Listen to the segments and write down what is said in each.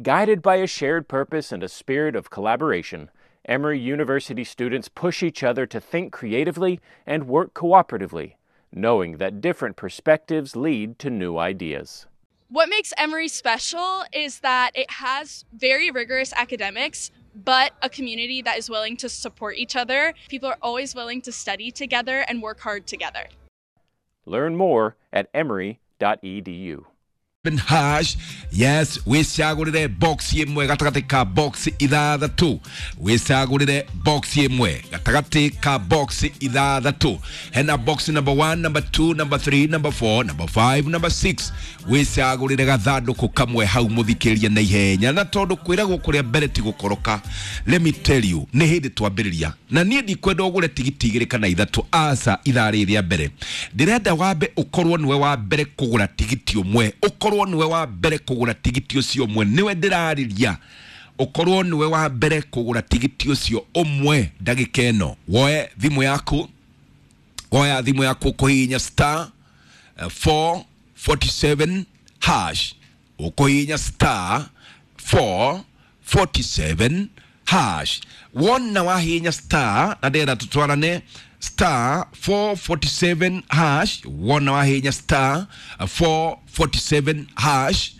Guided by a shared purpose and a spirit of collaboration, Emory University students push each other to think creatively and work cooperatively, knowing that different perspectives lead to new ideas. What makes Emory special is that it has very rigorous academics, but a community that is willing to support each other. People are always willing to study together and work hard together. Learn more at emory.edu. Hash, yes, wicagũrĩre box ĩmwe gatagatĩ ka box ithathatũ, wicagũrĩre box ĩmwe gatagatĩ ka box ithathatũ. Hena box number 1, number 2, number 3, number 4, number 5, number 6. Wicagũrĩre gathandũkũ kamwe hau mũthikĩrĩria na ihenya, na tondũ kwĩragwo kũrĩa mbere ti gũkoroka, let me tell you, nĩ hĩndĩ twambĩrĩria na niĩ ndikwenda ũgũre tigiti igĩrĩ kana ithatũ, aca. Ithaa rĩrĩ rĩa mbere ndĩrenda wambe ũkorwo nĩwe wa mbere kũgũra tigiti ũmwe, ũkorwo nĩwe wa mbere kũgũra tigiti ũcio ũmwe, nĩwe ndĩrarĩria, ũkorwo nĩwe wa mbere kũgũra tigiti ũcio ũmwe ndagĩka ĩno. Woe thimũ yaku, woya thimũ yaku, ũkũhihinya star 447 hash, ũkũhihinya star 447 hash. Wona wahihinya star, na ndĩrenda tũtwarane, star 447 hash. Wona wahihinya star 447 hash,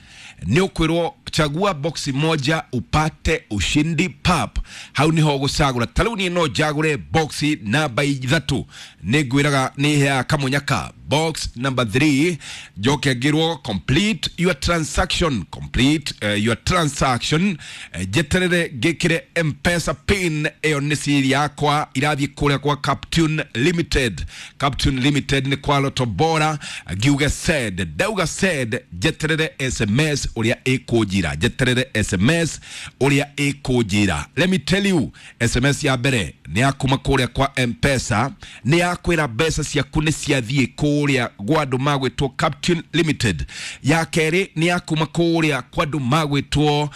nĩ ũkwĩrwo chagua boxi moja upate ushindi pap. Hau niho ũgũcagũra. Ta rĩu niĩ no njagũre boxi namba 3, nĩ ngwĩraga nĩ heaga kamũnyaka box number 3, njoke ngĩrwo complete your transaction, complete your transaction, njeterere ngĩkĩre M-Pesa pin. Ĩyo nĩ siri yakwa irathiĩ kũrĩa kwa Captune Limited. Captune Limited nĩ kwa Lotto Bora. Ngiuge send, ndauga send, njeterere SMS ũrĩa ĩkũnjira, njeterere SMS ũrĩa ĩkũnjira. Let me tell you, SMS ya mbere nĩ ya kuma kũrĩa kwa M-Pesa, nĩ ya kwĩra mbeca ciaku nĩ ciathiĩ kũrĩa gwa andũ magwĩtwo Captune Limited. Ya kerĩ nĩ ya kuma kũrĩa kwa andũ magwĩtwo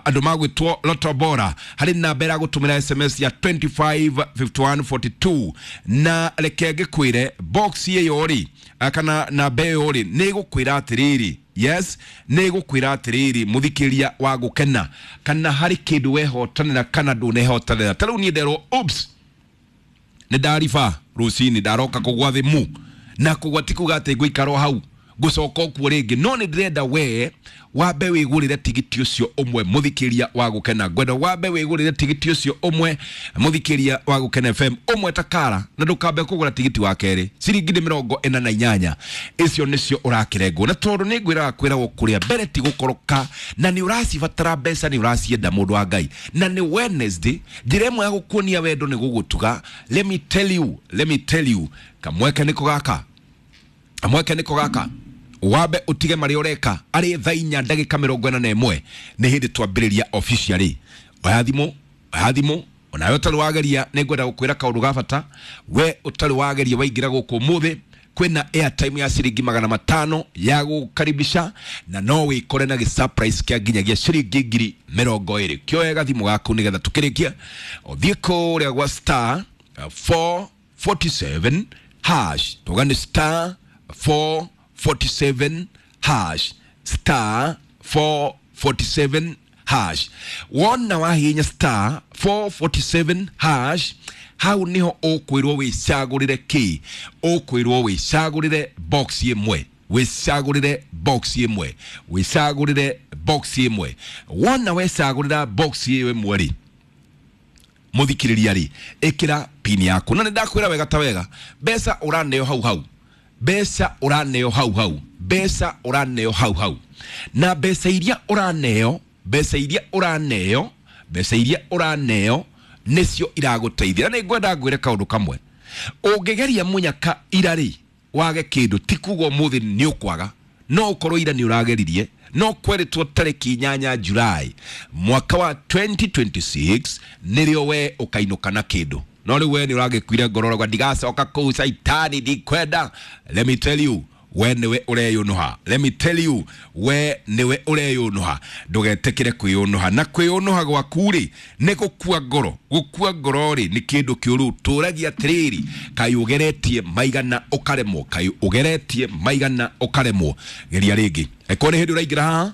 andũ magwĩtwo Lotto Bora, harĩ namba ĩragũtũmĩra SMS ya 255142. Na reke ngĩkwĩre, box ĩyo rĩ, kana namba ĩyo rĩ, nĩ ĩgũkwĩra atĩrĩrĩ, yes, nĩ ĩgũkwĩra atĩrĩrĩ, mũthikĩria wa gũkena, kana harĩ kĩndũ wehotanĩra kana ndũnehotanĩra. Ta rĩu niĩ nderwo oops, nĩ ndariba rũcinĩ, ndaroka kũgwa thimũ, na kũgwa ti kuga atĩ ngũikara o hau, ngũcoka okuo rĩngĩ, no nĩ ndĩrenda we wambe wĩgũrĩre tigiti ũcio ũmwe. Mũthikĩria wa gũkena, ngwenda wambe wĩgũrĩre tigiti ũcio ũmwe, mũthikĩria wa Gũkena FM, ũmwe takara, na ndũkambe kũgũra tigiti wa kerĩ. Ciringi nĩ 48, icio nĩcio ũrakĩrengwo, na tondũ nĩ ngwĩraga kwĩragwo kũrĩa mbere ti gũkoroka, na nĩ ũracibatara mbeca, nĩ ũracienda, mũndũ wa Ngai, na nĩ Wednesday, njĩra ĩmwe ya gũkuonia wendo nĩ gũgũtuga. Let me tell you, let me tell you, kamweke nĩko gaka, kamweke nĩko gaka, wambe utige marĩa ũreka. Arĩ thaa 4:41, nĩ hĩndĩ twambĩrĩria officially. Oya thimũ, oya thimũ, onawe ũtarĩ wageria, nĩ ngwenda gũkwĩra kaũndũ ga bata. We ũtarĩ wageria, waingĩra gũkũ ũmũthĩ, kwĩna airtime ya ciringi 500 ya gũkaribisha, na no wĩkore na gĩ surprise kĩa nginyagia ciringi 20,000. Kĩoe gathimũ gaku nĩgetha tũkĩrĩkia ũthiĩ kũrĩa gwa star 447 hash. Tuga nĩ star 447 hash, star 447 hash. Wona wahihinya star 447 hash, hau niho ũkwĩrwo wĩcagũrĩre kĩ, ũkwĩrwo wĩcagũrĩre box ĩmwe, wĩcagũrĩre box ĩmwe, wĩcagũrĩre box ĩmwe. Wona wecagũrĩra box ĩyo ĩmwe rĩ, mũthikĩrĩria rĩ, ĩkĩra pin yaku, na nĩ ndakwĩra wega ta wega, mbeca ũraneo hau hau, mbeca ũraneo hau hau, mbeca ũraneo hau hau, na mbeca iria ũraneo, mbeca iria ũraneo, mbeca iria ũraneo nĩcio iragũteithia. Na nĩ ngwenda ngwĩre kaũndũ kamwe, ũngĩgeria mũnyaka ira rĩ, wage kĩndũ, ti kuga ũmũthĩ nĩ ũkwaga. No ũkorwo ira nĩ ũrageririe, no kweritwo tarĩki 8 Julai mwaka wa 2026 nĩrĩo we ũkainũka na kĩndũ, no rĩu we nĩ ũragĩkuire ngoro, ũrauga ndigacoka kũu caitani, ndikwenda. Let me tell you, we nĩwe ũreyũnũha. Let me tell you, we nĩwe ũreyũnũha. Ndũgetĩkĩre kwĩyũnũha, na kwĩyũnũha gwaku rĩ, nĩ gũkua ngoro. Gũkua ngoro rĩ, nĩ kĩndũ kĩũru. Tũragia atĩrĩrĩ, kaĩ ũgeretie maigana ũkaremwo, kaĩ ũgeretie maigana ũkaremwo, geria rĩngĩ. Eko nĩ hĩndĩ ũraingĩra haha.